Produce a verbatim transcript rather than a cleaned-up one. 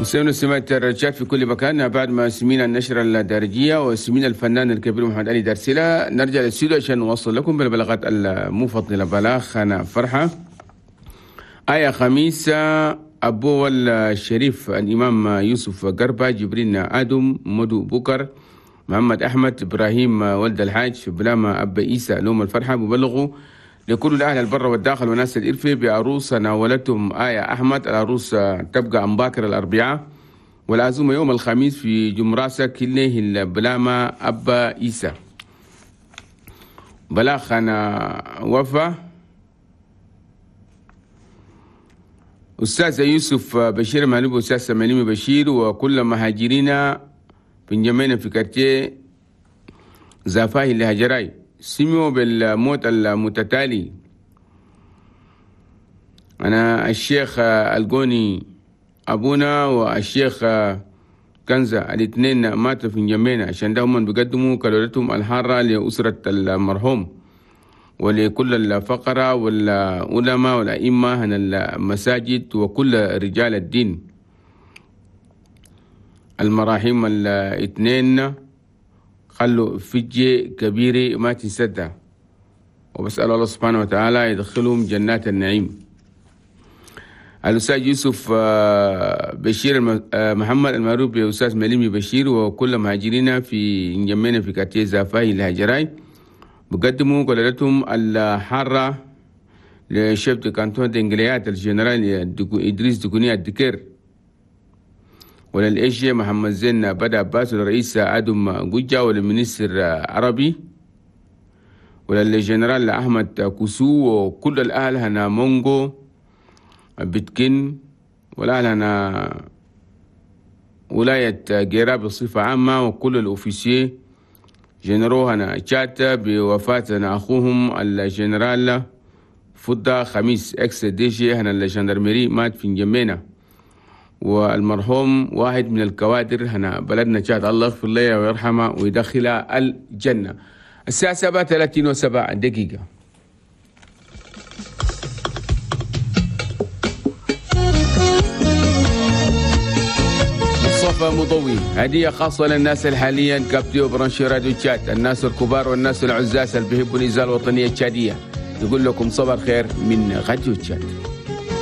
مستمعين سمعت الرجال في كل مكان، بعد ما سمينا النشرة الدارجية وسمينا الفنان الكبير محمد علي دارسيلا، نرجع للاستوديو عشان نوصل لكم بالبلاغات المفضلة. بلاغ أنا فرحة آية خميس أبو الشريف الإمام يوسف قربة جبرين آدم مدو بكر محمد أحمد إبراهيم ولد الحاج بلاما أبا إيسى لوم الفرحة ببلغوا لكل الأهل البر والداخل وناس الإرفي بعروس ناولتهم آية أحمد. العروس تبقى أمباكر الأربعاء والعزومة يوم الخميس في جمراسة كله البلاما أبا إيسى. بلاغ أنا وفا أستاذ يوسف بشير مالوب أستاذ سماليم بشير وكل مهاجرين بنجمينا في كارتيه زافاهي لهجراي سمعوا بالموت المتتالي. أنا الشيخ القوني أبونا والشيخ كنزة الاثنين ماتوا في نجمينا، عشان ده هم بيقدموا كلورتهم الحارة لأسرة المرحوم ولكل الفقراء والعلماء والأئمة هنا المساجد وكل رجال الدين. المراحيم الاثنين خلوا فجة كبيرة ما تنسدها، وبسأل الله سبحانه وتعالى يدخلهم جنات النعيم. الأستاذ يوسف بشير محمد المعروف بأستاذ مليمي بشير وكل مهاجرين في نجمينا في كارتيه زافاي الهجراي بقدموا قلالتهم الحارة ل chef de canton دنجليات الجنرال إدريس دكوني الدكير وللإيشي محمد زين بدا عباس والرئيس آدم جوجا ولل ministre عربي وللجنرال أحمد كوسو وكل الأهل هنا مونغو بتكن والأهل هنا ولاية جيرا بصفة عامة وكل ال officiers généraux هنا تشات بوفاة أخوهم الجنرال فضة خميس ex DG هنا ال gendarmerie مات في نجمينا، والمرحوم واحد من الكوادر هنا بلدنا تشاد، الله يغفر له ويرحمه ويدخله الجنة. الساعة سبعة وثلاثين وسبع دقيقة. مصطفى مضوي هدية خاصة للناس الحاليا كابتيو برانشي راديو تشاد، الناس الكبار والناس العزاز اللي بيحبوا الإذاعة الوطنية التشادية، يقول لكم صباح الخير من راديو تشاد.